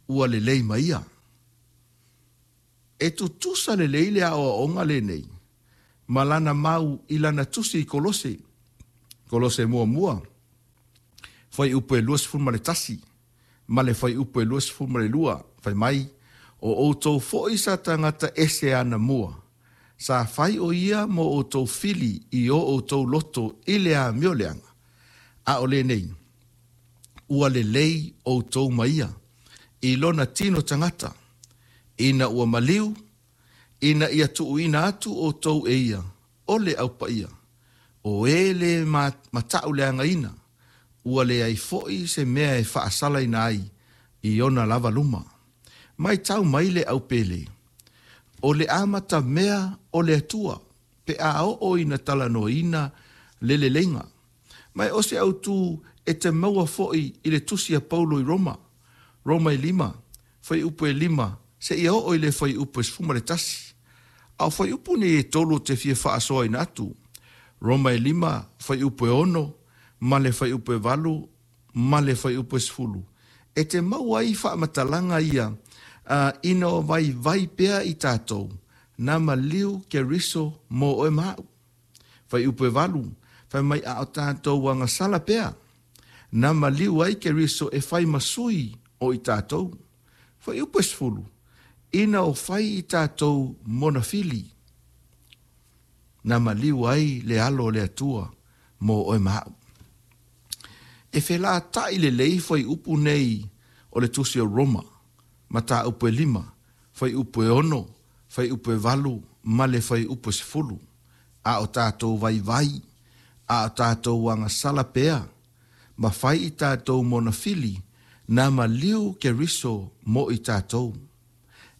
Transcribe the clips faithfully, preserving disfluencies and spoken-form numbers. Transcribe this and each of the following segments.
ua lelei ma ia. E tutusa lelei le aoaoga lenei ma lana mau i lana tusi i Kolose. Kolose muamua, fuaiupu e luasefulu ma le tasi ma le fuaiupu e luasefulu ma le lua, fai mai, o outou foi sa tagata ese anamua, sa fai o ia mo outou fili i o outou loto i le amio leaga. A o lenei, ua lelei outou ma ia, i lona tino tagata, ina ua maliu, ina ia tuuina atu outou e ia, o le aupaia, o e le matauleagaina, ua leai foi se mea e faasalaina ai i ona lava luma. Mai tau mai le aupele, o le amatamea o le Atua, pe a oo ina talanoaina le leleiga. Mai o se autu e te maua foi i le tusi a Paulo i Roma, Roma e lima, fuaiupu e lima, seia oo i le fuaiupu e sefulu ma le tasi. A o fuaiupu nei e tolu te fia faasoaina atu. Roma e lima, fuaiupu e ono, ma le fuaiupu e valu, ma le fuaiupu e sefulu. E te maua ai faamatalaga ia, uh, ina o vaivai pea i tatou, na maliu Keriso mo oe ma au. Fuaiupu e valu, fai mai a o tatou agasala pea, na maliu ai Keriso e fai ma sui o i tatou. Fuaiupu e sefulu, ina o fai i tatou monafili, na maliu ai le alo o le Atua mo oe ma au. E felatai lelei fuaiupu nei o le tusi o Roma, mataupu e lima, fuaiupu e ono, fuaiupu e valu, ma le fuaiupu e sefulu. A o tatou vaivai, a o tatou agasala pea, ma fai i tatou monafili, na maliu Keriso mo i tatou,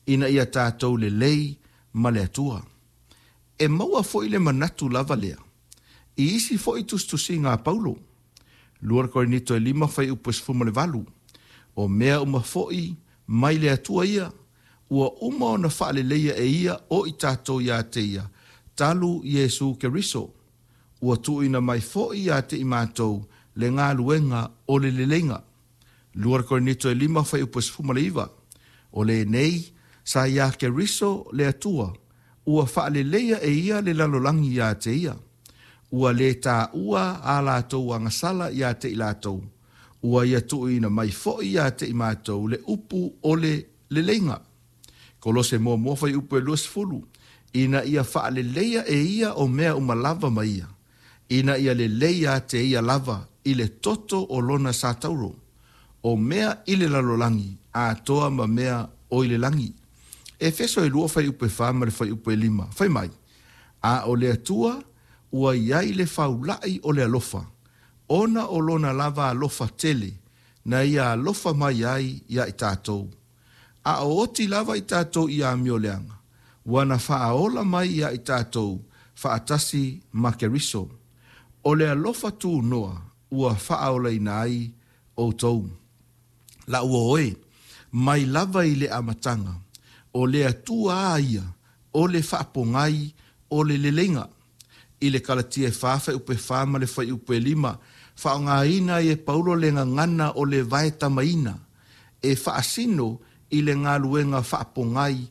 ina ia tatou lelei ma le Atua. E maua foi le manatu lava lea, i isi foi tusitusiga a Paulo, Lua Korinito e lima fuaiupu e sefulu ma le valu, o mea uma foi mai le Atua ia, ua uma ona faaleleia e ia o i tatou ia te ia, talu Iesu Keriso, ua tuuina mai foi ia te i matou le galuega o le leleiga. Lua Korinito e lima fuaiupu e sefulu ma le iva, o lenei sa ia Keriso le Atua, ua faaleleia e ia le lalolagi ia te ia, ua le taua a latou agasala ia te i latou, ua ia tuuina mai foi ia te i matou le upu o le leleiga. Kolose muamua fuaiupu e luasefulu, ina ia faaleleia e ia o mea uma lava ma ia, ina ia lelei ia te ia lava i le toto o lona satauro, o mea i le lalolagi atoa ma mea o i le lagi. Efeso e lua fuaiupu e fa ma le fuaiupu e lima, fai mai, a o le Atua ua iai le faulai o le alofa, ona o lona lava alofa tele, na ia alofa mai ai ia i tatou. A o oti lava i tatou i amioleaga, ua na faaola mai ia i tatou faatasi ma Keriso. O le alofa tunoa ua faaolaina ai outou. La ua oe, mai lava i le amataga, o le Atua a ia, o le faapogai, o le leleiga. I le Kalatia e fa fuaiupu e fa ma le fuaiupu e lima, faaaogaina ai e Paulo le gagana o le vaetamaina, e faasino i le galuega faapogai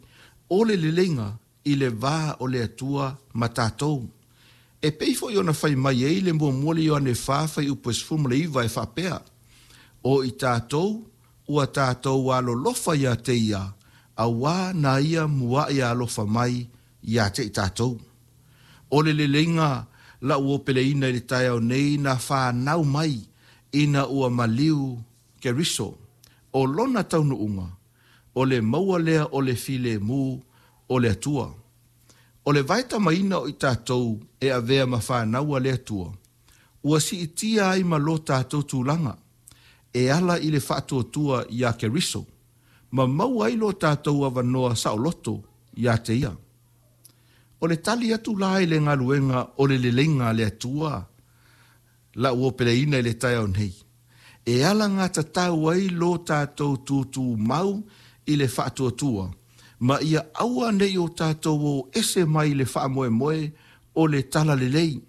o le leleiga i le va o le Atua ma tatou. E pei foi ona fai mai ai le muamua le Ioane fa fuaiupu e sefulu ma le iva e faapea, o i tatou ua tatou alolofa ia te ia, auā na ia mua'i alofa mai ia te i tatou. O le leleiga lau o peleina i le taeao nei na whanau mai ina ua maliu Keriso. O lona taunuuga, o le maua lea o le filemu o le Atua. O le vaetamaina o i tatou e avea ma whānaua le Atua, ua siitia ai ma lo tatou tulaga, e ala i le faatuatua ia Keriso, ma maua ai lo tatou avanoa saoloto ia te ia. O le tali atu la i le galuega o le leleiga a le Atua, lau o peleina i le taeao nei, e ala gatatau ai lo tatou tutu mau i le faatuatua, ma ia aua nei o tatou o ese mai le faamoemoe o le talalelei.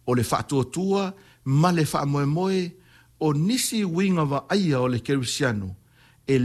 O le faatuatua ma le faamoemoe o nisi uiga vaaia o le kerisiano